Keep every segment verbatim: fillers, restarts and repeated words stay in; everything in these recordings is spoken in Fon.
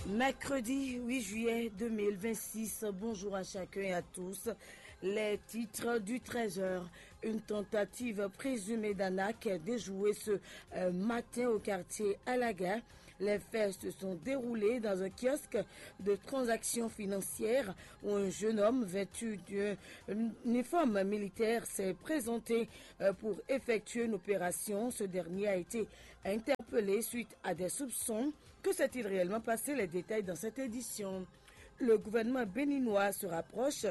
Mercredi huit juillet deux mille vingt-six, bonjour à chacun et à tous. Les titres du treize heures. Une tentative présumée d'arnaque déjouée ce euh, matin au quartier Alaga. Les faits se sont déroulés dans un kiosque de transactions financières où un jeune homme vêtu d'un uniforme militaire s'est présenté euh, pour effectuer une opération. Ce dernier a été interpellé suite à des soupçons. Que s'est-il réellement passé? Les détails dans cette édition. Le gouvernement béninois se rapproche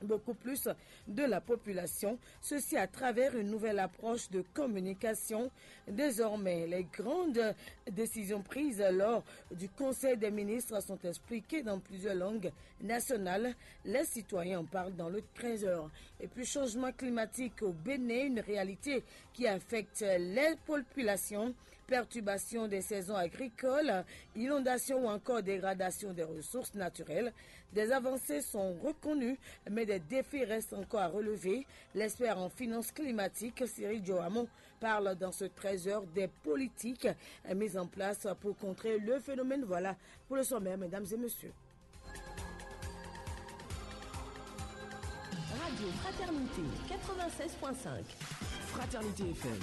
beaucoup plus de la population, ceci à travers une nouvelle approche de communication. Désormais, les grandes décisions prises lors du Conseil des ministres sont expliquées dans plusieurs langues nationales. Les citoyens en parlent dans le treize heures. Et puis, changement climatique au Bénin, une réalité qui affecte les populations. Perturbation des saisons agricoles, inondations ou encore dégradation des ressources naturelles. Des avancées sont reconnues, mais des défis restent encore à relever. L'expert en finances climatiques, Cyril Joamon, parle dans ce treize heures des politiques mises en place pour contrer le phénomène. Voilà pour le sommaire, mesdames et messieurs. Radio Fraternité quatre-vingt-seize point cinq. Fraternité F M.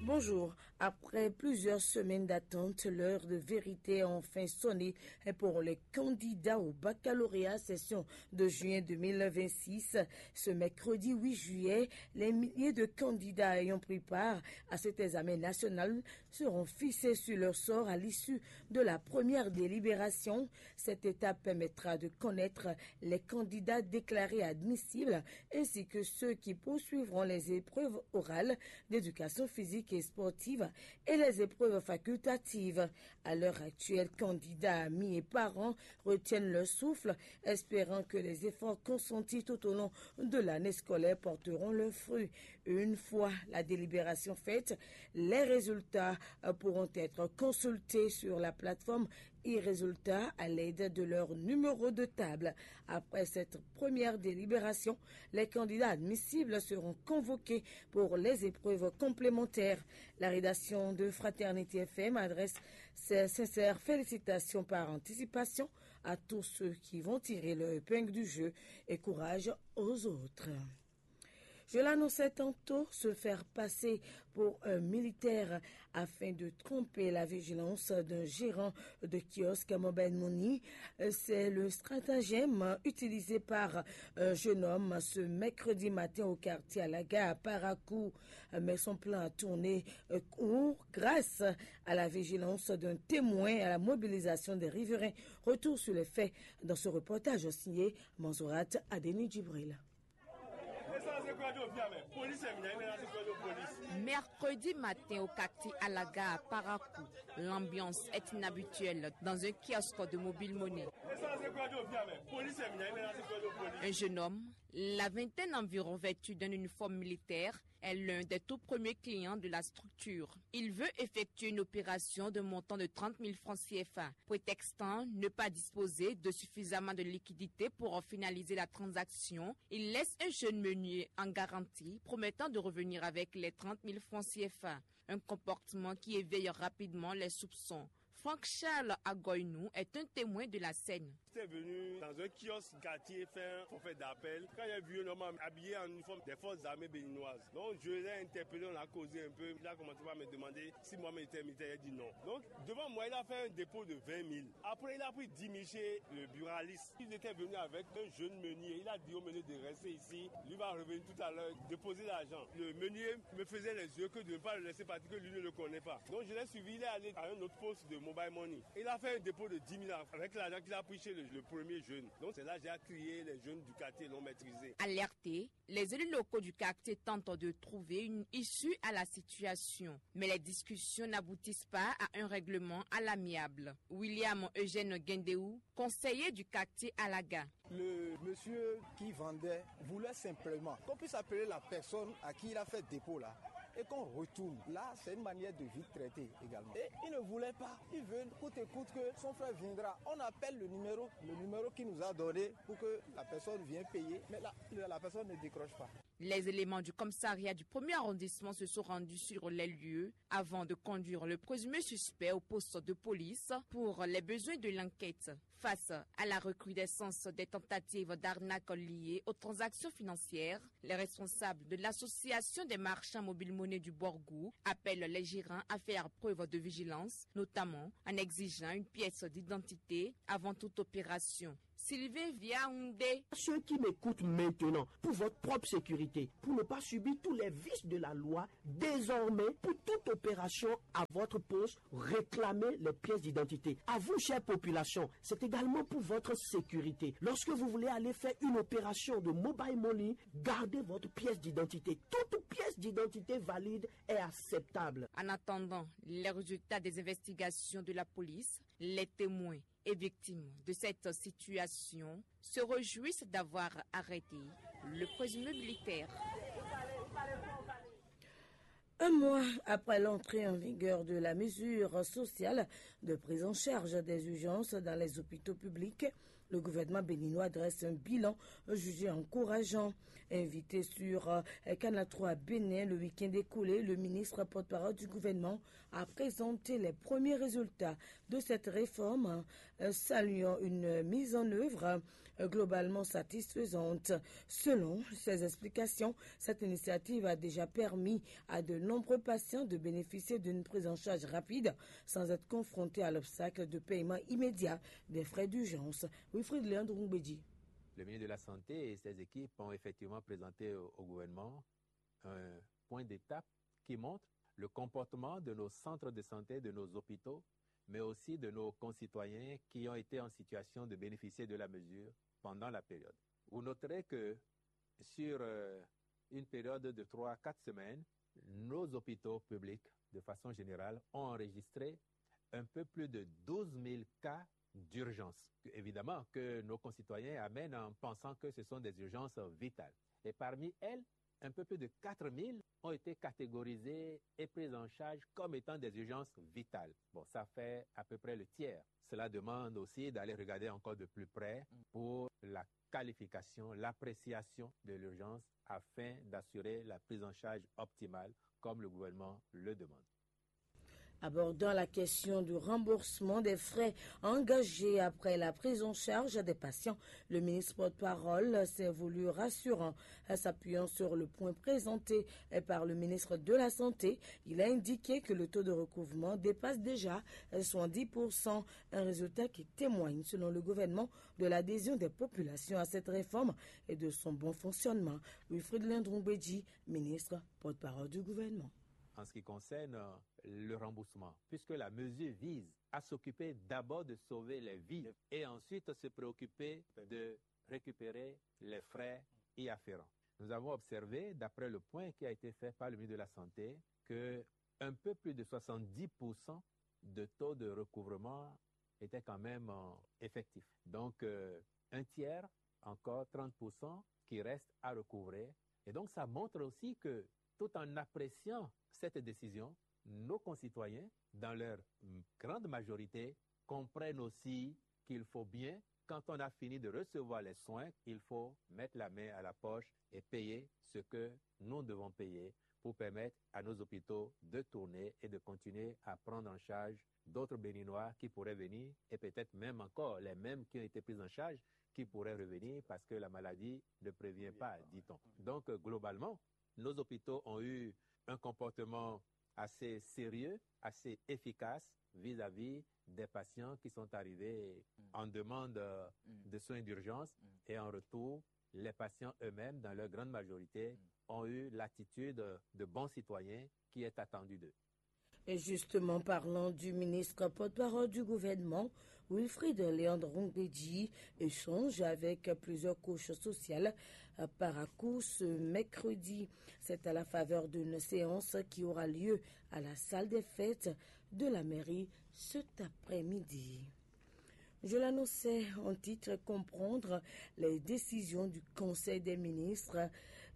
Bonjour. Après plusieurs semaines d'attente, l'heure de vérité a enfin sonné pour les candidats au baccalauréat session de juin deux mille vingt-six. Ce mercredi huit juillet, les milliers de candidats ayant pris part à cet examen national seront fixés sur leur sort à l'issue de la première délibération. Cette étape permettra de connaître les candidats déclarés admissibles ainsi que ceux qui poursuivront les épreuves orales d'éducation physique et sportive et les épreuves facultatives. À l'heure actuelle, candidats, amis et parents retiennent leur souffle, espérant que les efforts consentis tout au long de l'année scolaire porteront leurs fruits. Une fois la délibération faite, les résultats euh, pourront être consultés sur la plateforme e-résultats à l'aide de leur numéro de table. Après cette première délibération, les candidats admissibles seront convoqués pour les épreuves complémentaires. La rédaction de Fraternité F M adresse ses sincères félicitations par anticipation à tous ceux qui vont tirer leur épingle du jeu et courage aux autres. Je l'annonçais tantôt, se faire passer pour un militaire afin de tromper la vigilance d'un gérant de kiosque Mobile Money. C'est le stratagème utilisé par un jeune homme ce mercredi matin au quartier à la gare à Parakou. Mais son plan a tourné court grâce à la vigilance d'un témoin, à la mobilisation des riverains. Retour sur les faits dans ce reportage signé Manzourat Adeni Djibril. Mercredi matin au quartier Alaga à Parakou, l'ambiance est inhabituelle dans un kiosque de Mobile Money. Un jeune homme, la vingtaine environ, vêtu d'un uniforme militaire, est l'un des tout premiers clients de la structure. Il veut effectuer une opération de montant de trente mille francs C F A. Prétextant ne pas disposer de suffisamment de liquidités pour finaliser la transaction, il laisse un jeune meunier en garantie, promettant de revenir avec les trente mille francs C F A. Un comportement qui éveille rapidement les soupçons. Franck Charles Agoinou est un témoin de la scène. J'étais venu dans un kiosque quartier faire un forfait d'appel. Quand j'ai vu un homme habillé en uniforme des forces armées béninoises, donc je l'ai interpellé, on a causé un peu. Il a commencé par me demander si moi-même j'étais militaire. Il a dit non. Donc, devant moi, il a fait un dépôt de vingt mille. Après, il a pris dix mille chez le buraliste. Il était venu avec un jeune meunier. Il a dit au meunier de rester ici. Lui va revenir tout à l'heure, déposer l'argent. Le meunier me faisait les yeux que de ne pas le laisser partir, que lui ne le connaît pas. Donc, je l'ai suivi. Il est allé à un autre poste de Mobile Money. Il a fait un dépôt de dix mille avec l'argent qu'il a pris chez le, le premier jeune. Donc, c'est là que j'ai crié, les jeunes du quartier l'ont maîtrisé. Alertés, les élus locaux du quartier tentent de trouver une issue à la situation. Mais les discussions n'aboutissent pas à un règlement à l'amiable. William Eugène Guendéou, conseiller du quartier Alaga. Le monsieur qui vendait voulait simplement qu'on puisse appeler la personne à qui il a fait dépôt là. Et qu'on retourne. Là, c'est une manière de vite traiter également. Et il ne voulait pas. Il veut coûte et coûte que son frère viendra. On appelle le numéro, le numéro qu'il nous a donné pour que la personne vienne payer. Mais là, la personne ne décroche pas. Les éléments du commissariat du premier arrondissement se sont rendus sur les lieux avant de conduire le présumé suspect au poste de police pour les besoins de l'enquête. Face à la recrudescence des tentatives d'arnaque liées aux transactions financières, les responsables de l'association des marchands mobile monnaie du Borgou appellent les gérants à faire preuve de vigilance, notamment en exigeant une pièce d'identité avant toute opération. Sylvain Viaoundé. Ceux qui m'écoutent maintenant, pour votre propre sécurité, pour ne pas subir tous les vices de la loi, désormais, pour toute opération à votre poste, réclamez les pièces d'identité. À vous, chère population, c'est également pour votre sécurité. Lorsque vous voulez aller faire une opération de mobile money, gardez votre pièce d'identité. Toute pièce d'identité valide est acceptable. En attendant les résultats des investigations de la police, les témoins et victimes de cette situation se réjouissent d'avoir arrêté le présumé militaire. Un mois après l'entrée en vigueur de la mesure sociale de prise en charge des urgences dans les hôpitaux publics, le gouvernement béninois dresse un bilan jugé encourageant. Invité sur euh, Canal trois Bénin le week-end écoulé, le ministre porte-parole du gouvernement a présenté les premiers résultats de cette réforme, euh, saluant une mise en œuvre euh, globalement satisfaisante. Selon ses explications, cette initiative a déjà permis à de nombreux patients de bénéficier d'une prise en charge rapide sans être confrontés à l'obstacle de paiement immédiat des frais d'urgence. Wilfried Léandre Ngbedji. Le ministre de la Santé et ses équipes ont effectivement présenté au, au gouvernement un point d'étape qui montre le comportement de nos centres de santé, de nos hôpitaux, mais aussi de nos concitoyens qui ont été en situation de bénéficier de la mesure pendant la période. Vous noterez que sur euh, une période de trois à quatre semaines, nos hôpitaux publics, de façon générale, ont enregistré un peu plus de douze mille cas d'urgence, que, évidemment, que nos concitoyens amènent en pensant que ce sont des urgences vitales. Et parmi elles, un peu plus de quatre mille ont été catégorisées et prises en charge comme étant des urgences vitales. Bon, ça fait à peu près le tiers. Cela demande aussi d'aller regarder encore de plus près pour la qualification, l'appréciation de l'urgence afin d'assurer la prise en charge optimale comme le gouvernement le demande. Abordant la question du remboursement des frais engagés après la prise en charge des patients, le ministre porte-parole s'est voulu rassurant en s'appuyant sur le point présenté par le ministre de la Santé. Il a indiqué que le taux de recouvrement dépasse déjà soixante-dix pour cent, un résultat qui témoigne, selon le gouvernement, de l'adhésion des populations à cette réforme et de son bon fonctionnement. Wilfried Léandre Ngbedji, ministre porte-parole du gouvernement. En ce qui concerne le remboursement, puisque la mesure vise à s'occuper d'abord de sauver les vies et ensuite se préoccuper de récupérer les frais y afférents. Nous avons observé, d'après le point qui a été fait par le ministre de la Santé, que un peu plus de soixante-dix pour cent de taux de recouvrement était quand même euh, effectif. Donc, euh, un tiers, encore trente pour cent qui reste à recouvrer. Et donc, ça montre aussi que, tout en appréciant cette décision, nos concitoyens, dans leur grande majorité, comprennent aussi qu'il faut bien, quand on a fini de recevoir les soins, il faut mettre la main à la poche et payer ce que nous devons payer pour permettre à nos hôpitaux de tourner et de continuer à prendre en charge d'autres Béninois qui pourraient venir et peut-être même encore les mêmes qui ont été pris en charge qui pourraient revenir parce que la maladie ne prévient pas, dit-on. Donc, euh, globalement, nos hôpitaux ont eu un comportement assez sérieux, assez efficace vis-à-vis des patients qui sont arrivés en demande euh, de soins d'urgence et en retour, les patients eux-mêmes, dans leur grande majorité, ont eu l'attitude de bons citoyens qui est attendue d'eux. Et justement, parlant du ministre porte-parole du gouvernement, Wilfried Léandre Ngbedji échange avec plusieurs couches sociales euh, par à coup ce mercredi. C'est à la faveur d'une séance qui aura lieu à la salle des fêtes de la mairie cet après-midi. Je l'annonçais en titre, comprendre les décisions du Conseil des ministres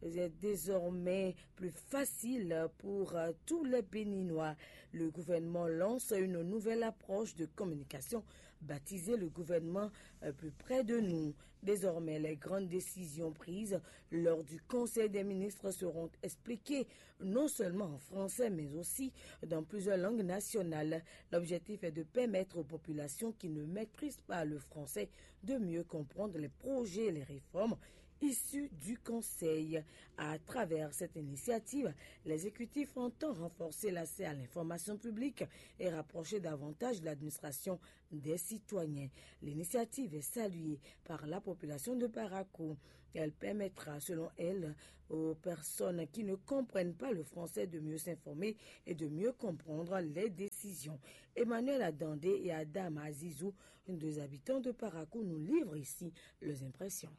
est désormais plus facile pour euh, tous les Béninois. Le gouvernement lance une nouvelle approche de communication baptisée le gouvernement euh, plus près de nous. Désormais, les grandes décisions prises lors du Conseil des ministres seront expliquées non seulement en français, mais aussi dans plusieurs langues nationales. L'objectif est de permettre aux populations qui ne maîtrisent pas le français de mieux comprendre les projets et les réformes issus du Conseil. À travers cette initiative, l'exécutif entend renforcer l'accès à l'information publique et rapprocher davantage l'administration des citoyens. L'initiative est saluée par la population de Parakou. Elle permettra, selon elle, aux personnes qui ne comprennent pas le français de mieux s'informer et de mieux comprendre les décisions. Emmanuel Adandé et Adam Azizou, deux habitants de Parakou, nous livrent ici leurs impressions.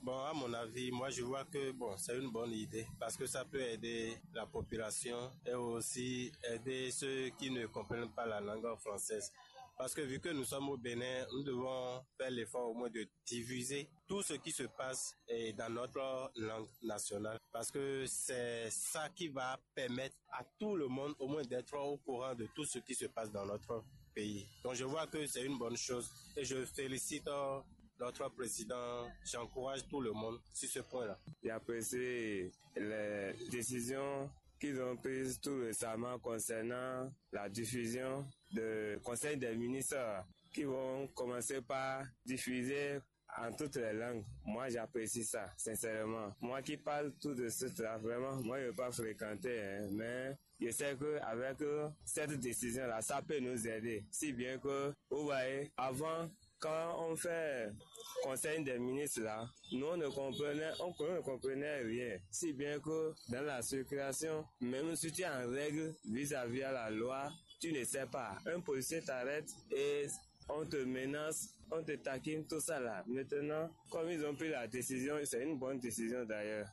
Bon, à mon avis, moi je vois que bon, c'est une bonne idée parce que ça peut aider la population et aussi aider ceux qui ne comprennent pas la langue française. Parce que vu que nous sommes au Bénin, nous devons faire l'effort au moins de diffuser tout ce qui se passe eh, dans notre langue nationale. Parce que c'est ça qui va permettre à tout le monde au moins d'être au courant de tout ce qui se passe dans notre pays. Donc je vois que c'est une bonne chose et je félicite euh, notre président. J'encourage tout le monde sur ce point-là. J'apprécie les décisions qu'ils ont prises tout récemment concernant la diffusion de conseils des ministres qui vont commencer par diffuser en toutes les langues. Moi, j'apprécie ça, sincèrement. Moi qui parle tout de suite là, vraiment, moi, je ne vais pas fréquenter, hein, mais je sais que avec euh, cette décision-là, ça peut nous aider. Si bien que, vous voyez, avant, quand on fait conseil des ministres là, nous on ne comprenait, on ne comprenait rien. Si bien que dans la circulation, même si tu es en règle vis-à-vis à la loi, tu ne sais pas. Un policier t'arrête et on te menace, on te taquine, tout ça là. Maintenant, comme ils ont pris la décision, c'est une bonne décision d'ailleurs.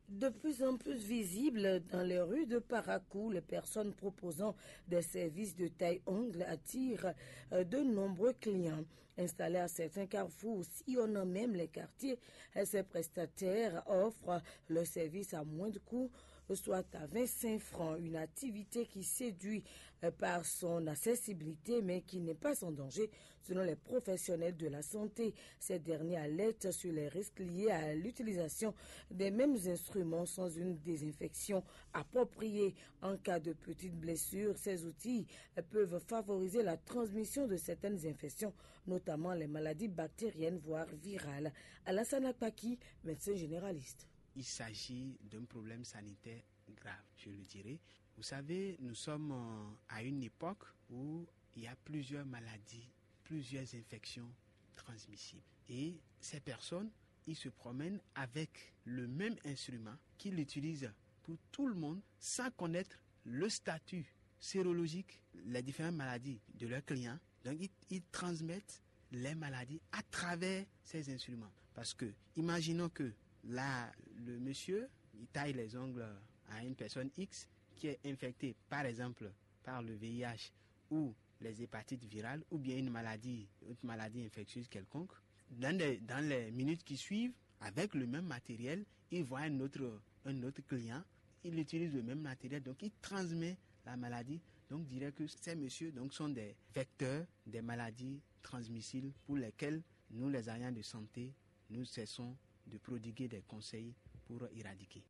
De plus en plus visibles dans les rues de Parakou, les personnes proposant des services de taille ongle attirent euh, de nombreux clients. Installés à certains carrefours, sillonnant même les quartiers, euh, ces prestataires offrent leurs services à moins de coût, soit à vingt-cinq francs, une activité qui séduit euh, par son accessibilité mais qui n'est pas sans danger selon les professionnels de la santé. Ces derniers alertent sur les risques liés à l'utilisation des mêmes instruments sans une désinfection appropriée. En cas de petite blessure, ces outils peuvent favoriser la transmission de certaines infections, notamment les maladies bactériennes voire virales. Alassane Akpaki, médecin généraliste. Il s'agit d'un problème sanitaire grave, je le dirais. Vous savez, nous sommes euh, à une époque où il y a plusieurs maladies, plusieurs infections transmissibles. Et ces personnes, ils se promènent avec le même instrument qu'ils utilisent pour tout le monde sans connaître le statut sérologique, les différentes maladies de leurs clients. Donc, ils, ils transmettent les maladies à travers ces instruments. Parce que, imaginons que là, le monsieur, il taille les ongles à une personne X qui est infectée, par exemple, par le V I H ou les hépatites virales ou bien une maladie, une maladie infectieuse quelconque. Dans les, dans les minutes qui suivent, avec le même matériel, il voit un autre, un autre client, il utilise le même matériel, donc il transmet la maladie. Donc, je dirais que ces messieurs donc, sont des vecteurs des maladies transmissibles pour lesquelles nous, les agents de santé, nous cessons de prodiguer des conseils pour éradiquer.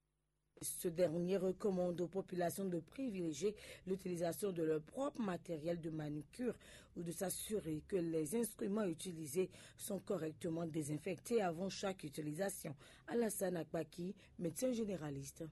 Ce dernier recommande aux populations de privilégier l'utilisation de leur propre matériel de manucure ou de s'assurer que les instruments utilisés sont correctement désinfectés avant chaque utilisation. Alassane Akpaki, médecin généraliste.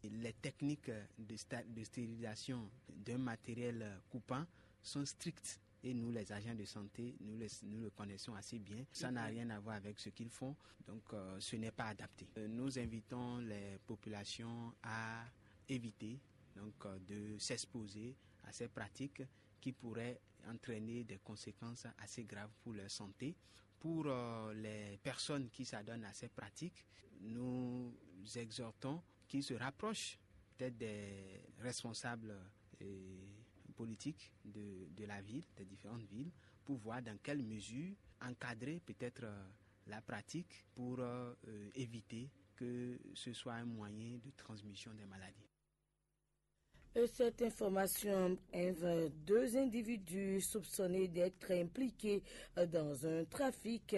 Les techniques de, de stérilisation d'un matériel coupant sont strictes et nous, les agents de santé, nous le, nous le connaissons assez bien. Ça n'a rien à voir avec ce qu'ils font, donc euh, ce n'est pas adapté. Euh, nous invitons les populations à éviter donc, euh, de s'exposer à ces pratiques qui pourraient entraîner des conséquences assez graves pour leur santé. Pour euh, les personnes qui s'adonnent à ces pratiques, nous exhortons qu'ils se rapprochent peut-être des responsables euh, politiques de, de la ville, des différentes villes, pour voir dans quelle mesure encadrer peut-être euh, la pratique pour euh, éviter que ce soit un moyen de transmission des maladies. Et cette information, deux individus soupçonnés d'être impliqués dans un trafic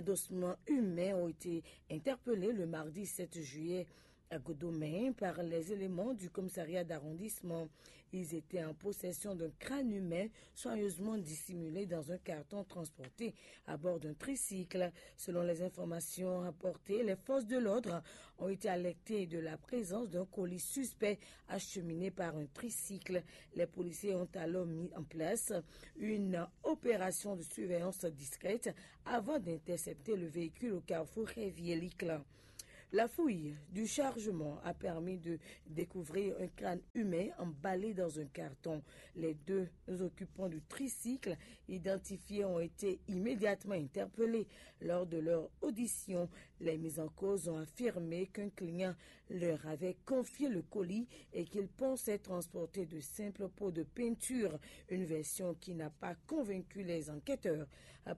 d'ossements humains ont été interpellés le mardi sept juillet à Godomain par les éléments du commissariat d'arrondissement. Ils étaient en possession d'un crâne humain soigneusement dissimulé dans un carton transporté à bord d'un tricycle. Selon les informations apportées, les forces de l'ordre ont été alertées de la présence d'un colis suspect acheminé par un tricycle. Les policiers ont alors mis en place une opération de surveillance discrète avant d'intercepter le véhicule au carrefour Révier-Liclin. La fouille du chargement a permis de découvrir un crâne humain emballé dans un carton. Les deux occupants du tricycle identifiés ont été immédiatement interpellés. Lors de leur audition, les mis en cause ont affirmé qu'un client leur avait confié le colis et qu'il pensait transporter de simples pots de peinture, une version qui n'a pas convaincu les enquêteurs.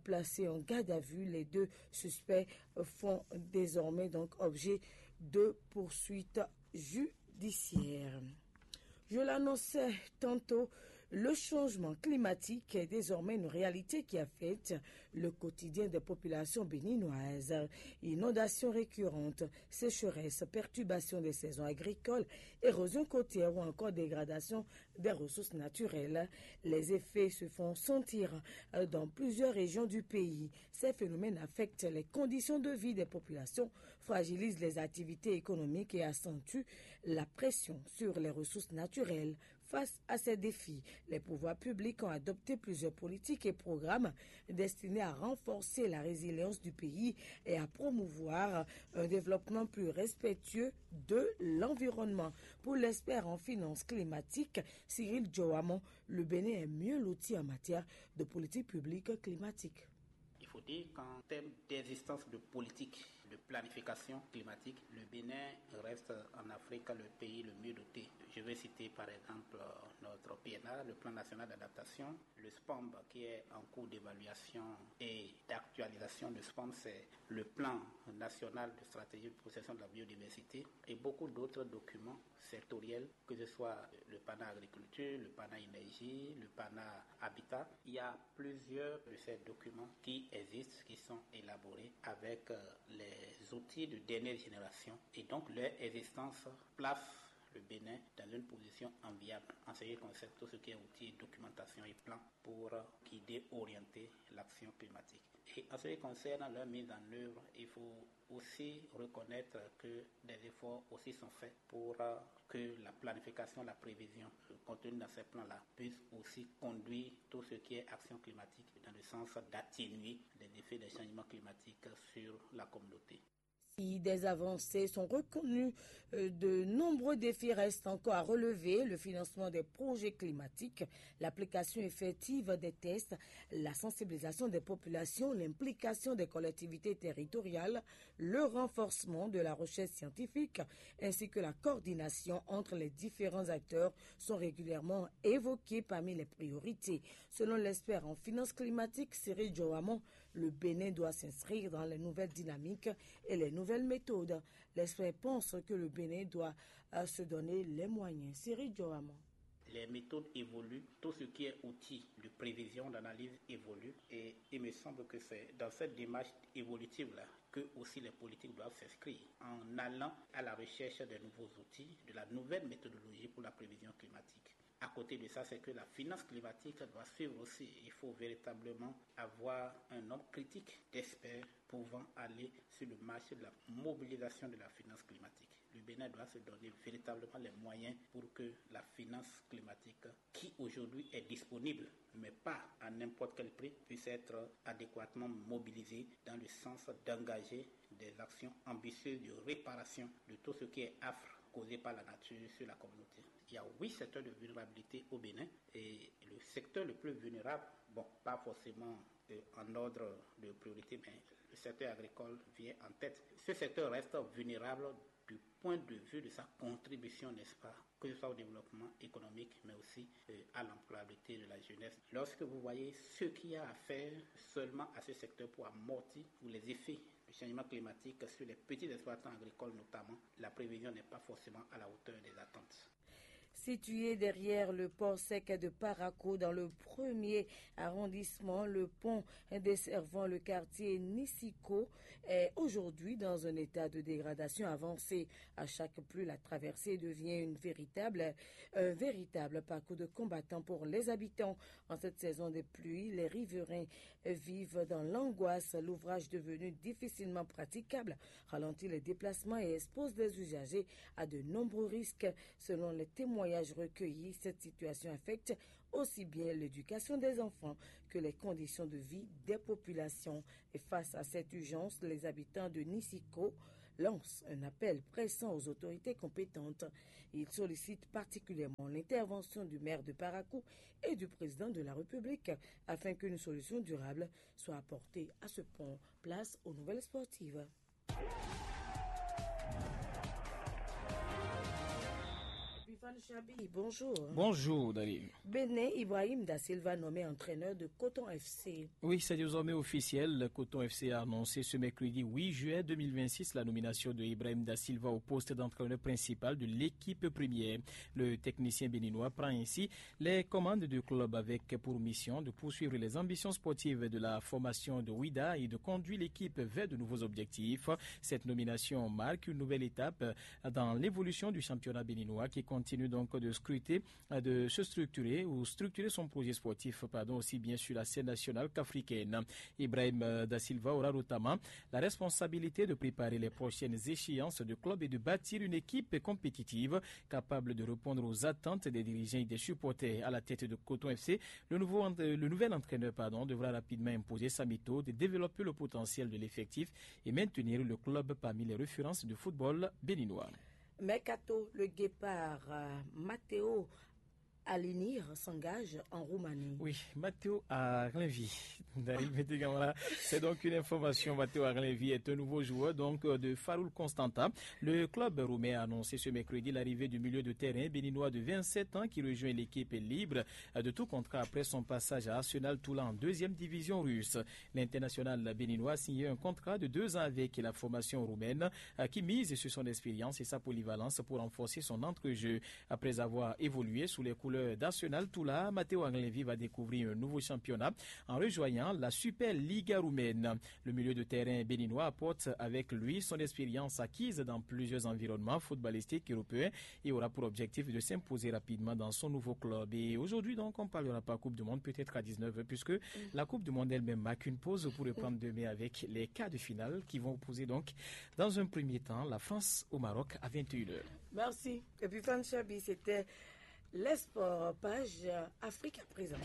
Placés en garde à vue, les deux suspects font désormais donc objet de poursuites judiciaires. Je l'annonçais tantôt, le changement climatique est désormais une réalité qui affecte le quotidien des populations béninoises. Inondations récurrentes, sécheresses, perturbations des saisons agricoles, érosion côtière ou encore dégradation des ressources naturelles. Les effets se font sentir dans plusieurs régions du pays. Ces phénomènes affectent les conditions de vie des populations, fragilisent les activités économiques et accentuent la pression sur les ressources naturelles. Face à ces défis, les pouvoirs publics ont adopté plusieurs politiques et programmes destinés à renforcer la résilience du pays et à promouvoir un développement plus respectueux de l'environnement. Pour l'expert en finances climatiques, Cyril Joamon, le Bénin est mieux loti en matière de politique publique climatique. Il faut dire qu'en termes d'existence de politique de planification climatique, le Bénin reste en Afrique le pays le mieux doté. Je vais citer par exemple notre P N A, le Plan national d'adaptation, le spomb qui est en cours d'évaluation et d'actualisation. Le spomb, c'est le plan national de stratégie de protection de la biodiversité et beaucoup d'autres documents sectoriels, que ce soit le PANA agriculture, le PANA énergie, le PANA habitat. Il y a plusieurs de ces documents qui existent, qui sont élaborés avec euh, les outils de dernière génération. Et donc leur existence place le Bénin dans une position enviable en ce qui concerne tout ce qui est outils, documentation et plans pour guider, orienter l'action climatique. Et en ce qui concerne leur mise en œuvre, il faut aussi reconnaître que des efforts aussi sont faits pour euh, que la planification, la prévision contenue dans ces plans-là puisse aussi conduire tout ce qui est action climatique dans le sens d'atténuer les effets des changements climatiques sur la communauté. Si des avancées sont reconnues, euh, de nombreux défis restent encore à relever, le financement des projets climatiques, l'application effective des tests, la sensibilisation des populations, l'implication des collectivités territoriales, le renforcement de la recherche scientifique ainsi que la coordination entre les différents acteurs sont régulièrement évoqués parmi les priorités. Selon l'expert en finances climatiques, Cyril Joamon, le Bénin doit s'inscrire dans les nouvelles dynamiques et les nouvelles méthodes. L'expert pense que le Bénin doit euh, se donner les moyens. Cyril Joamon. Les méthodes évoluent, tout ce qui est outil de prévision, d'analyse évolue et il me semble que c'est dans cette démarche évolutive-là que aussi les politiques doivent s'inscrire en allant à la recherche des nouveaux outils, de la nouvelle méthodologie pour la prévision climatique. À côté de ça, c'est que la finance climatique doit suivre aussi. Il faut véritablement avoir un nombre critique d'experts pouvant aller sur le marché de la mobilisation de la finance climatique. Le Bénin doit se donner véritablement les moyens pour que la finance climatique, qui aujourd'hui est disponible, mais pas à n'importe quel prix, puisse être adéquatement mobilisée dans le sens d'engager des actions ambitieuses de réparation de tout ce qui est affre causé par la nature sur la communauté. Il y a huit secteurs de vulnérabilité au Bénin et le secteur le plus vulnérable, bon, pas forcément euh, en ordre de priorité, mais le secteur agricole vient en tête. Ce secteur reste vulnérable du point de vue de sa contribution, n'est-ce pas, que ce soit au développement économique, mais aussi euh, à l'employabilité de la jeunesse. Lorsque vous voyez ce qu'il y a à faire seulement à ce secteur pour amortir les effets du changement climatique sur les petits exploitants agricoles notamment, la prévision n'est pas forcément à la hauteur des attentes. Situé derrière le port sec de Parakou dans le premier arrondissement, le pont desservant le quartier Nisiko est aujourd'hui dans un état de dégradation avancée. À chaque pluie, la traversée devient une véritable, un véritable parcours de combattant pour les habitants. En cette saison des pluies, les riverains vivent dans l'angoisse. L'ouvrage devenu difficilement praticable ralentit les déplacements et expose les usagers à de nombreux risques. Selon les témoignages recueillis, cette situation affecte aussi bien l'éducation des enfants que les conditions de vie des populations. Et face à cette urgence, les habitants de Nisiko lancent un appel pressant aux autorités compétentes. Ils sollicitent particulièrement l'intervention du maire de Parakou et du président de la République afin qu'une solution durable soit apportée à ce pont. Place aux nouvelles sportives. Bonjour. Bonjour, Dali. Bénin, Ibrahim Da Silva nommé entraîneur de Coton F C. Oui, c'est désormais officiel. Le Coton F C a annoncé ce mercredi huit juillet deux mille vingt-six la nomination de Ibrahim Da Silva au poste d'entraîneur principal de l'équipe première. Le technicien béninois prend ainsi les commandes du club avec pour mission de poursuivre les ambitions sportives de la formation de Wida et de conduire l'équipe vers de nouveaux objectifs. Cette nomination marque une nouvelle étape dans l'évolution du championnat béninois qui continue donc de scruter, de se structurer ou structurer son projet sportif, pardon, aussi bien sur la scène nationale qu'africaine. Ibrahim euh, Da Silva aura notamment la responsabilité de préparer les prochaines échéances du club et de bâtir une équipe compétitive capable de répondre aux attentes des dirigeants et des supporters. À la tête de Coton F C, le, nouveau, le nouvel entraîneur, pardon, devra rapidement imposer sa méthode, développer le potentiel de l'effectif et maintenir le club parmi les références du football béninois. Mercato, le guépard euh, Matteo Alinir s'engage en Roumanie. Oui, Matteo Arinvi. C'est donc une information. Matteo Arinvi est un nouveau joueur donc euh, de Faroul Constantin. Le club roumain a annoncé ce mercredi l'arrivée du milieu de terrain béninois de vingt-sept ans qui rejoint l'équipe libre euh, de tout contrat après son passage à Arsenal Toula en deuxième division russe. L'international béninois a signé un contrat de deux ans avec la formation roumaine euh, qui mise sur son expérience et sa polyvalence pour renforcer son entre-jeu. Après avoir évolué sous les couleurs d'Arsenal Toula, Matteo Arinvi va découvrir un nouveau championnat en rejoignant la Super Liga roumaine. Le milieu de terrain béninois apporte avec lui son expérience acquise dans plusieurs environnements footballistiques européens et aura pour objectif de s'imposer rapidement dans son nouveau club. Et aujourd'hui, donc, on parlera pas Coupe du Monde, peut-être à dix-neuf heures, puisque la Coupe du Monde elle-même marque une pause pour reprendre demain avec les quarts de finale qui vont opposer donc, dans un premier temps, la France au Maroc à vingt et une heures. Merci. Et puis, Fan Chabi, c'était les sports, page Afrique à présent.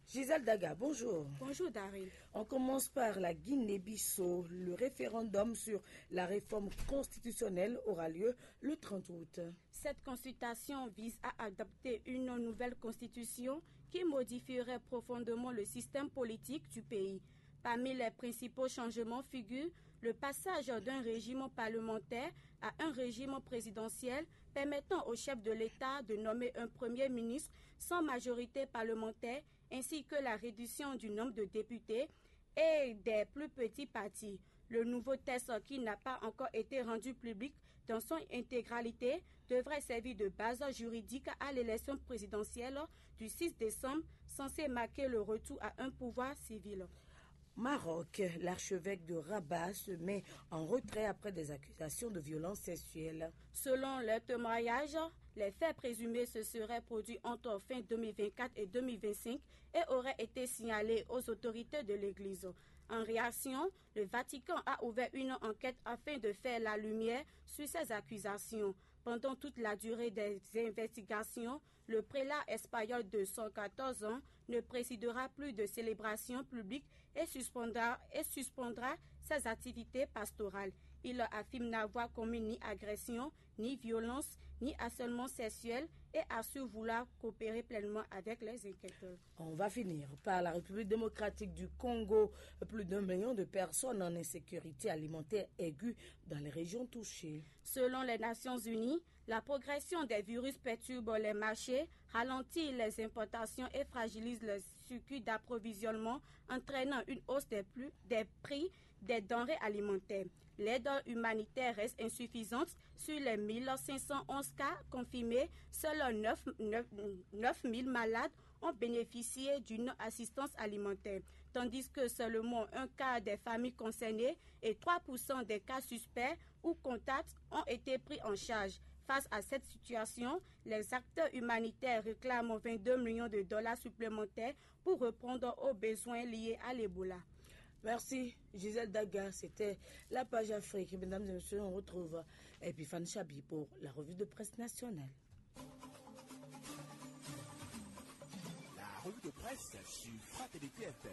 Gisèle Daga, bonjour. Bonjour, Daryl. On commence par la Guinée-Bissau. Le référendum sur la réforme constitutionnelle aura lieu le trente août. Cette consultation vise à adopter une nouvelle constitution qui modifierait profondément le système politique du pays. Parmi les principaux changements figurent le passage d'un régime parlementaire à un régime présidentiel permettant au chef de l'État de nommer un premier ministre sans majorité parlementaire, ainsi que la réduction du nombre de députés et des plus petits partis. Le nouveau texte, qui n'a pas encore été rendu public dans son intégralité, devrait servir de base juridique à l'élection présidentielle du six décembre, censée marquer le retour à un pouvoir civil. Maroc, l'archevêque de Rabat se met en retrait après des accusations de violence sexuelle. Selon les témoignages, les faits présumés se seraient produits entre fin deux mille vingt-quatre et deux mille vingt-cinq et auraient été signalés aux autorités de l'Église. En réaction, le Vatican a ouvert une enquête afin de faire la lumière sur ces accusations. Pendant toute la durée des investigations, le prélat espagnol de cent quatorze ans ne présidera plus de célébrations publiques et suspendra, et suspendra ses activités pastorales. Il affirme n'avoir commis ni agression, ni violence, ni harcèlement sexuel et assure vouloir coopérer pleinement avec les enquêteurs. On va finir par la République démocratique du Congo. Plus d'un million de personnes en insécurité alimentaire aiguë dans les régions touchées. Selon les Nations Unies, la progression des virus perturbe les marchés, ralentit les importations et fragilise le circuit d'approvisionnement, entraînant une hausse des, plus, des prix des denrées alimentaires. L'aide humanitaire reste insuffisante. Sur les mille cinq cent onze cas confirmés, seuls neuf, neuf, neuf mille malades ont bénéficié d'une assistance alimentaire, tandis que seulement un quart des familles concernées et trois pour cent des cas suspects ou contacts ont été pris en charge. Face à cette situation, les acteurs humanitaires réclament vingt-deux millions de dollars supplémentaires pour répondre aux besoins liés à l'Ebola. Merci, Gisèle Daga. C'était la page Afrique. Mesdames et messieurs, on retrouve Epiphane Chabi pour la revue de presse nationale. La revue de presse sur Fraternité F M.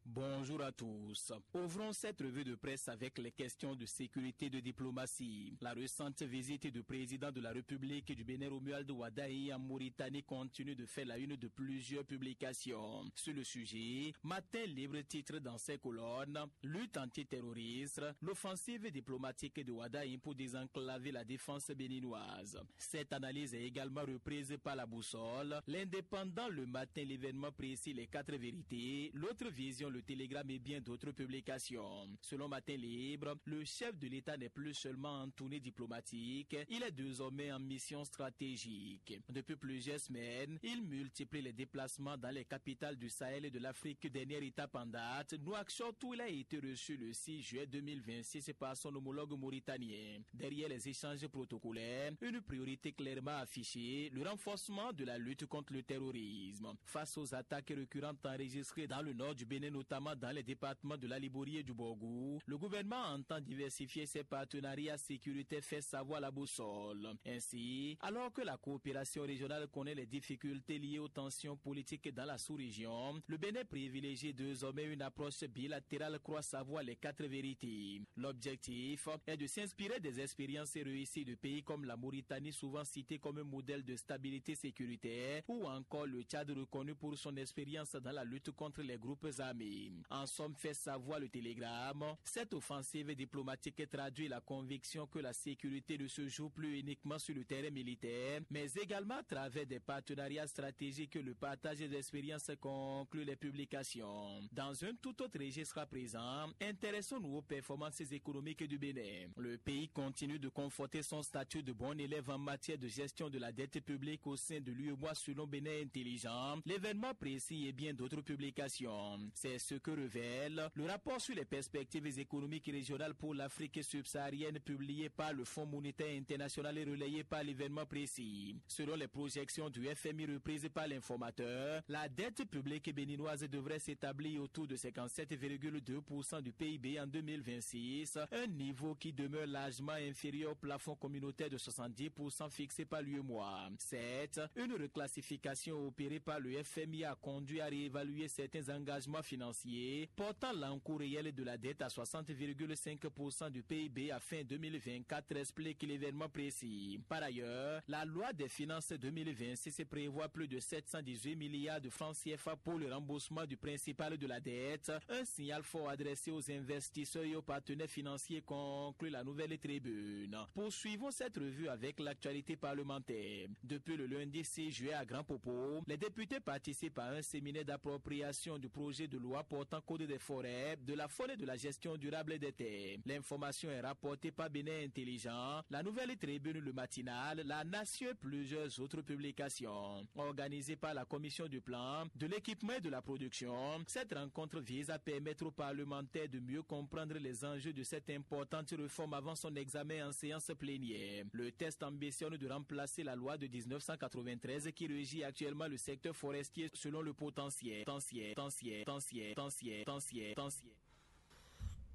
Bonjour à tous. Ouvrons cette revue de presse avec les questions de sécurité et de diplomatie. La récente visite du président de la République du Bénin, Romuald Wadagni, en Mauritanie continue de faire la une de plusieurs publications. Sur le sujet, Matin Libre titre dans ses colonnes: Lutte antiterroriste, l'offensive diplomatique de Wadagni pour désenclaver la défense béninoise. Cette analyse est également reprise par La Boussole, L'Indépendant, Le Matin, L'Événement Précis, Les Quatre Vérités, L'Autre Vision, Le Télégramme et bien d'autres publications. Selon Matin Libre, le chef de l'État n'est plus seulement en tournée diplomatique, il est désormais en mission stratégique. Depuis plusieurs semaines, il multiplie les déplacements dans les capitales du Sahel et de l'Afrique, dernière étape en date, Nouakchott, où il a été reçu le six juillet deux mille vingt-six par son homologue mauritanien. Derrière les échanges protocolaires, une priorité clairement affichée, le renforcement de la lutte contre le terrorisme. Face aux attaques récurrentes enregistrées dans le nord du Bénin, notamment dans les départements de la Liborie et du Borgou, le gouvernement entend diversifier ses partenariats sécuritaires, fait savoir La Boussole. Ainsi, alors que la coopération régionale connaît les difficultés liées aux tensions politiques dans la sous-région, le Bénin privilégie désormais une approche bilatérale, croit savoir Les Quatre Vérités. L'objectif est de s'inspirer des expériences réussies de pays comme la Mauritanie, souvent citée comme un modèle de stabilité sécuritaire, ou encore le Tchad, reconnu pour son expérience dans la lutte contre les groupes armés. En somme, fait savoir Le Télégramme, cette offensive diplomatique traduit la conviction que la sécurité ne se joue plus uniquement sur le terrain militaire, mais également à travers des partenariats stratégiques et le partage d'expériences, conclut les publications. Dans un tout autre registre à présent, intéressons-nous aux performances économiques du Bénin. Le pays continue de conforter son statut de bon élève en matière de gestion de la dette publique au sein de l'UEMOA, selon Bénin Intelligent, L'Événement Précis et bien d'autres publications. C'est ce que révèle le rapport sur les perspectives économiques régionales pour l'Afrique subsaharienne, publié par le Fonds monétaire international et relayé par L'Événement Précis. Selon les projections du F M I reprises par l'Informateur, la dette publique béninoise devrait s'établir autour de cinquante-sept virgule deux pour cent du P I B en deux mille vingt-six, un niveau qui demeure largement inférieur au plafond communautaire de soixante-dix pour cent fixé par l'UEMOA. Certes, une reclassification opérée par le F M I a conduit à réévaluer certains engagements financiers, portant l'encours réel de la dette à soixante virgule cinq pour cent du P I B à fin deux mille vingt-quatre, explique L'Événement Précis. Par ailleurs, la loi des finances deux mille vingt-six prévoit plus de sept cent dix-huit milliards de francs C F A pour le remboursement du principal de la dette, un signal fort adressé aux investisseurs et aux partenaires financiers, conclut la Nouvelle Tribune. Poursuivons cette revue avec l'actualité parlementaire. Depuis le lundi six juillet à Grand Popo, les députés participent à un séminaire d'appropriation du projet de loi portant code des forêts, de la faune et de la gestion durable des terres. L'information est rapportée par Bénin Intelligent, La Nouvelle Tribune, Le Matinal, La Nation et plusieurs autres publications. Organisée par la Commission du Plan, de l'Équipement et de la Production, cette rencontre vise à permettre aux parlementaires de mieux comprendre les enjeux de cette importante réforme avant son examen en séance plénière. Le texte ambitionne de remplacer la loi de dix-neuf cent quatre-vingt-treize qui régit actuellement le secteur forestier selon le potentiel. Potentiel, potentiel, potentiel, potentiel, potentiel, potentiel.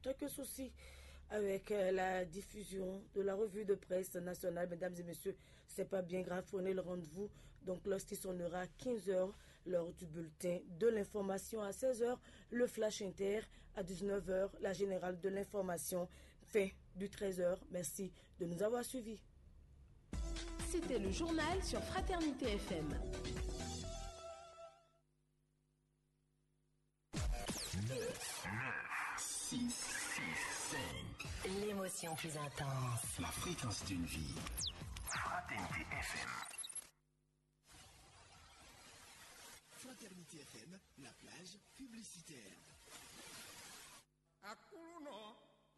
Quelques soucis avec euh, la diffusion de la revue de presse nationale. Mesdames et messieurs, c'est pas bien grave, prenez le rendez-vous. Donc, lorsqu'il sonnera quinze heures, L'heure du bulletin de l'information à seize heures, le flash inter à dix-neuf heures, la générale de l'information. Fin du treize heures. Merci de nous avoir suivis. C'était le journal sur Fraternité F M. L'émotion plus intense. La fréquence d'une vie. Fraternité F M. Fraternité F M, la plage publicitaire. Aklúnɔ,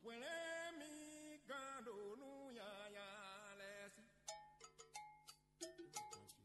hwlɛ́n mì gán ɖo nú nyanya lɛ́ɛ sí.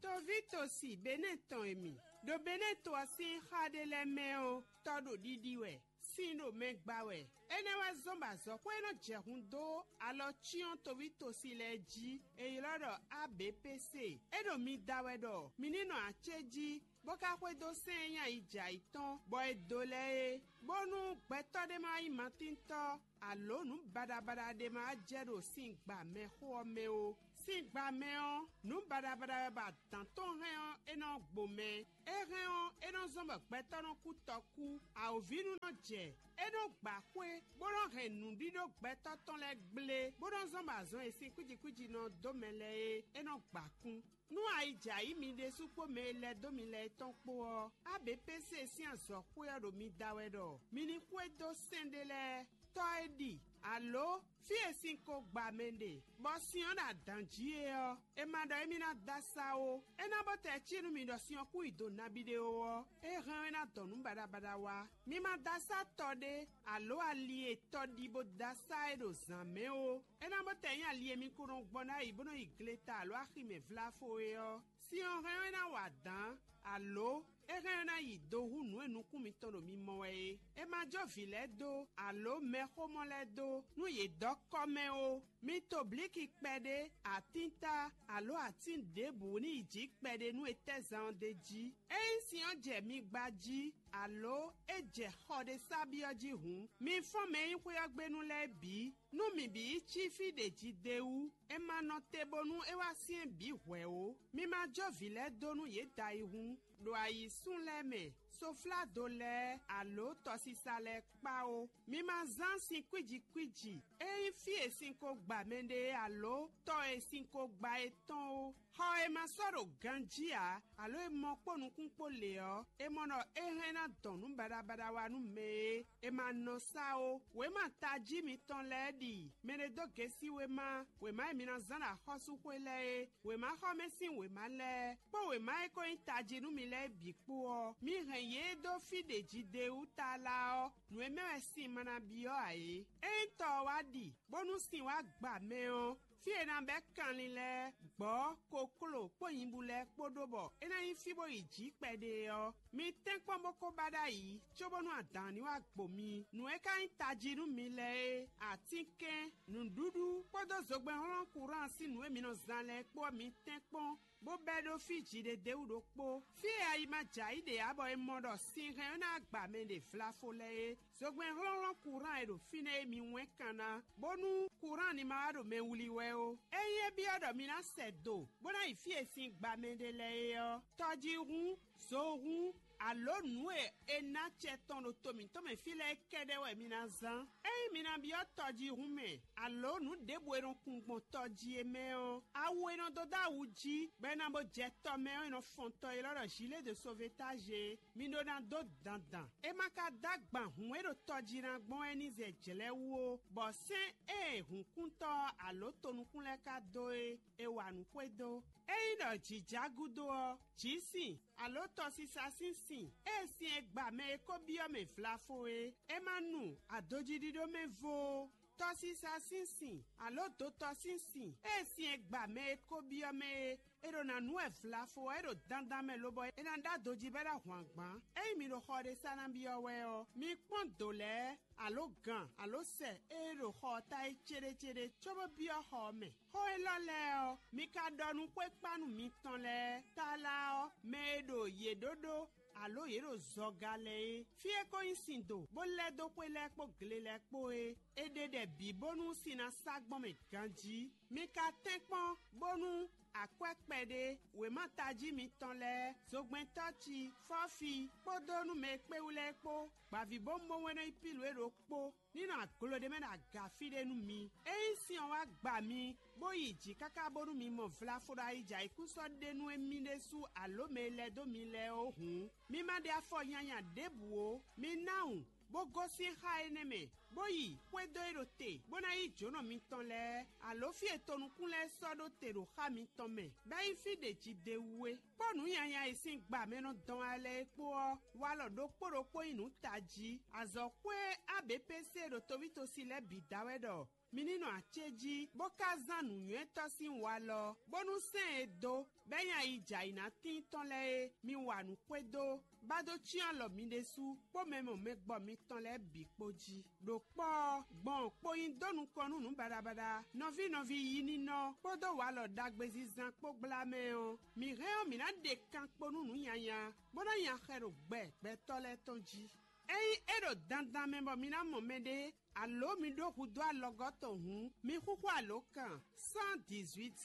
Toví tosi Benɛ́ tɔn e mi ɖo Benɛ́ to ɔ́ sín xá ɖé lɛ́ɛ mɛ ɔ́, tɔ́ ɖo ɖiɖi wɛ, sin ɖo mɛ gba wɛ. Énɛ́ wɛ zɔ́n bɔ azɔ̌xwé e nɔ jɛ hun dó alɔ cyɔ́n toví tosi lɛ́ɛ jí, è ylɔ́ ɖɔ A B P C. É ɖo mi da wɛ ɖɔ mi ní nɔ acéjí, bó ka xwedó sɛ́n e nyí ayi jɛ ayǐ tɔn, bɔ è dǒ lɛ́ɛ é, bónú gbɛtɔ́ ɖé ma nyí matíntɔ́, alǒ nǔ baɖabaɖa ɖé ma jɛ ɖo sin gba mɛxó ɔ́ mɛ ó. Sin gba mɛ ɔ́, nǔ baɖabaɖa wɛ bɔ adǎn tɔn hɛn ɔ́, é nɔ gbo mɛ. É hɛn ɔ́, é nɔ zɔ́n bɔ gbɛtɔ́ nɔ kú tɔkú. Awǒvínú nɔ jɛ. É nɔ gba xwé, bó nɔ hɛn nǔɖíɖó gbɛtɔ́ tɔn lɛ́ɛ gblé, bó nɔ zɔ́n bɔ azɔn e sin kwíji kwíji nɔ dó mɛ lɛ́ɛ é, é nɔ gba kún. Nú ayi jɛ ayǐ mi ɖésú kpó mɛ e lɛ́ dó mi lɛ́ɛ tɔn kpó ɔ́, A B P C sín azɔ̌xwé ɔ́ ɖo mi da wɛ ɖɔ mi ní xwedó sɛ́n ɖé lɛ́ɛ, tɔ́ e ɖi, alǒ fí e sin ko gba mɛ ɖe, bɔ sin ɔ́ ɖo adǎn jí é ɔ́, è ma ɖɔ émí ná dó asá ó. É ná bó tɛ cí nú mi ɖɔ sin ɔ́ kún yi do nabí ɖé ó ɔ́, é hɛn ɔ́ é ná dɔn nǔ baɖabaɖa wá. Mi ma dó asá tɔ ɖé, alǒ ali e tɔ ɖi bó dó asá é ɖo zǎn mɛ ó. É ná bó tɛ nyí ali e mi ko nɔ gbɔn ɖ'ayǐ bó nɔ yi gleta alǒ aximɛ vláfo é ɔ́, sin ɔ́ hɛn ɔ́ é ná wa dǎn, alǒ é hɛn ɔ́ ná yi do hú nǔ e nukún mitɔn ɖo mi mɔ wɛ é. È ma jó vǐ lɛ́ɛ dó, alǒ mɛxómɔ lɛ́ɛ dó, nú yě dɔ́ kɔ́ mɛ ó. Mi to blǐki kpɛɖé, atínta, alǒ atín ɖěbǔ ní yi jǐ kpɛɖé nú etɛ́zan ɔ́ d'é jí. Ényí sin ɔ́ jɛ mi gba jí, alǒ é jɛ xɔ ɖé sá byɔ́ jí hǔn, mi fɔ́n mɛ e nyí xwé ɔ́ gbe nú lɛ́ɛ bǐ, nú mǐ bǐ yi cí fí ɖě jí d'é wú. È ma nɔ te bónú é wá syɛ́n bǐ hwɛ̌ ó. Mi ma jó vǐ lɛ́ɛ dó nú yě da yi hǔn, ɖo ayǐsún lɛ́ɛ mɛ, sofládo lɛ́ɛ, alǒ tɔsisa lɛ́ɛ kpá ó. Mi ma zán sin kwíji kwíji, é nyí fí e sin ko gba mɛɖé alǒ tɔ e sin ko gba é tɔn ó. Xɔ e ma sɔ́ ɖo ganjí ǎ, alǒ e mɔ kpó nukún kpó lě ɔ́, è mɔ ɖɔ é hɛn ná dɔn nǔ baɖabaɖa wá nú mɛ e è ma nɔ sá ó. Wěma tají mitɔn lɛ́ɛ ɖi mɛ ɖé dó gěsí wěma, wěma e mi ná zán ɖo axɔ́súxwé lɛ́ɛ é, wěmaxɔmɛ sín wěma lɛ́ɛ, kpó wěma e ko nyí tají nú mi lɛ́ɛ bǐ kpó ɔ́, mi hɛn yě dó fí ɖě jí d'é wú tlala ɔ́, nǔ e mɛ wɛ sin ma ná byɔ́ ǎ é. Ényí tɔ ɔ́ wá ɖi, bónú sin wá gba mɛ ɔ́, fí e è nǎ bɛ́ kanlin lɛ́ɛ, gbɔ̌, kokló kpó nyibú lɛ́ɛ kpó ɖó bɔ é ná nyí fí bó yi jǐ kpɛɖé ɔ́, mi tɛ́nkpɔ́n bó ko ba ɖ'ayǐ, cóbónú adǎn ní wá gbo mi. Nǔ e ka nyí tají nú mi lɛ́ɛ é, atínkɛn, nǔɖuɖu kpódó zogbɛ́nhlɔ́n kurán sín nǔ e mi nɔ zán lɛ́ɛ kpó ɔ́, mi tɛ́nkpɔ́n, bó bɛ́ ɖó fí jǐɖéɖéwú ɖokpó. Fí e ayi ma jɛ ayǐ ɖe ǎ bɔ è mɔ ɖɔ sin hɛn ɔ́ ná gba mɛ ɖe vlafo lɛ́ɛ é. Zogbɛ́n hlɔ́nhlɔ́n kurán e ɖo fínɛ́ é mi wɛ́n kan ná, bónú kurán ní ma wá ɖo mɛ wlí wɛ ó. Ényí é byɔ́ ɖɔ mi ná sɛ do, bó ná yi fí e sin gba mɛ ɖe lɛ́ɛ é ɔ́, tɔjíhún, zohún, alǒ nǔ e è ná acɛ tɔn ɖo to mǐtɔn mɛ fí lɛ́ɛ kɛ́ɖɛ́ wɛ mi ná zán. Ényí mi ná byɔ́ tɔjíhún mɛ, alǒ nǔ ɖěbǔ e nɔ kun gbɔn tɔ jí é mɛ ɔ́, awu e nɔ dó dó awu jí, bɔ è nǎ bó jɛ tɔ mɛ ɔ́, è nɔ fɔn tɔ élɔ́ ɖɔ gilet de sauvetage é. Mi ɖó ná dó dandan. É ma ka dó agban hǔn e ɖo tɔ jí ná gbɔn wɛ ní zɛ jlɛ̌ wú ó, bɔ sɛ́n e hǔnkúntɔ́ ɔ́ alǒ tonukún lɛ́ɛ ka dó é, è wa nǔ xwedó. Ényí ɖɔ jǐ já gúdo ɔ́, jǐ sin, alǒ tɔsisa sín sin, ée sin e gba mɛ e ko byɔ́ mɛ vlafo é, é ma nu adojíɖíɖó mɛ vo ó. Tɔsisa sín sin, alǒ dotɔ sín sin, ée sin e gba mɛ e ko byɔ́ mɛ é, è ɖo ná nú wɛ vlafo ɔ́, é ɖo dandan mɛ lobɔ é ná ɖó adojí bɔ é ná hwan gbǎn. Ényí mi ɖo xɔ ɖé sá ná byɔ́ wɛ ɔ́, mi kpɔ́n dǒ lɛ́ɛ, alǒ gan, alǒ sɛ e ɖo xɔ ɔ́ ta é céɖécéɖé, cóbó byɔ́ xɔ ɔ́ mɛ. Xó élɔ́ lɛ́ɛ ɔ́, mi ka ɖɔ nú xwékpánu mitɔn lɛ́ɛ. Tlala ɔ́, mɛ e ɖo yě ɖó ɖó, alǒ yě ɖo zɔga lɛ́ɛ é. Fí e ko nyí sin do, bó lɛ́ dó xwé lɛ́ɛ kpó gle lɛ́ɛ kpó é, è ɖe ɖɛ bǐ bónú sin ná sá gbɔn mɛ ganjí. Mi ka tɛ́nkpɔ́n bónú Akwɛ́ kpɛɖé, wěma tají mitɔn lɛ́ɛ, zogbɛ́ntɔ́ ci, fɔ́fi, kpódó nú mɛ e kpé wú lɛ́ɛ kpó, gbǎvíbówúnbówún e nɔ nyí Pílu é ɖokpó, ní nɔ aglo ɖé mɛ ɖo aga fí ɖé nú mi. Ényí sin ɔ́ wá gba mi, bó yi jǐ káká bónú mi mɔ vlafo ɖo ayijǎyíkúsɔ́ ɖé nú émí ɖésú alǒ mɛ e lɛ́ dó mi lɛ́ɛ ó hǔn, mi ma ɖe afɔ nyanya ɖěbǔ ó. Mi ná wun, bó gosín xá énɛ́ mɛ, bó yi xwedó e ɖo te, bó ná yí jǒnɔ mitɔn lɛ́ɛ, alǒ fí e tonukún lɛ́ɛ sɔ́ ɖó te ɖo xá mitɔn mɛ, bɔ é nyí fí ɖě jí d'é wú é. Kpó nǔ nyanya e sín gba mɛ nɔ dɔn wá lɛ́ɛ é kpó ɔ́, walɔ ɖokpó ɖokpó nyí nǔ tají. Azɔ̌xwé A B P C ɖo tovítosi lɛ́ɛ bǐ da wɛ ɖɔ mi ní nɔ acéjí, bó ka zán nǔnywɛ́tɔ́ sín walɔ, bónú sɛ́n e dó, bɔ é nyí ayi jɛ ayǐ ná tíin tɔn lɛ́ɛ é, mi wa nǔ xwedó, ba dó cyɔ́n alɔ mi ɖésú kpó mɛ mɔ mɛ gbɔ mitɔn lɛ́ɛ bǐ kpó jí. Ɖo kpɔ́ ɔ́, gbɔn kpo nyi dó nukɔn nú nǔ baɖabaɖa, nɔví nɔví yi ninɔ kpódó walɔ ɖagbe zizan kpó gbla mɛ ɔ́, mǐ hɛn ɔ́, mǐ ná ɖe kan kpo nú nǔ nyanya, bó ná nya xɛ ɖo gbɛ gbɛtɔ́ lɛ́ɛ tɔn jí. Ényí é ɖo dandan mɛ bɔ mi ná mɔ mɛɖé, alǒ mi ɖó hudó alɔgɔ́ tɔn hǔn, mi xúxú alǒkan cent dix-huit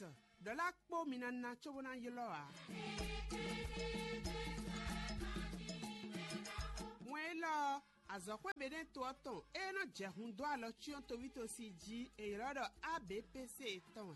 ɖɔ̌la kpó mi ná ná cóbó ná ylɔ́ ǎ. Wɛn élɔ́ ɔ́, azɔ̌xwé Beɖɛ́ɛn to ɔ́ tɔn e nɔ jɛ hun dó alɔ cyɔ́n tovítosi jí è ylɔ́ ɖɔ A B P C tɔn wɛ.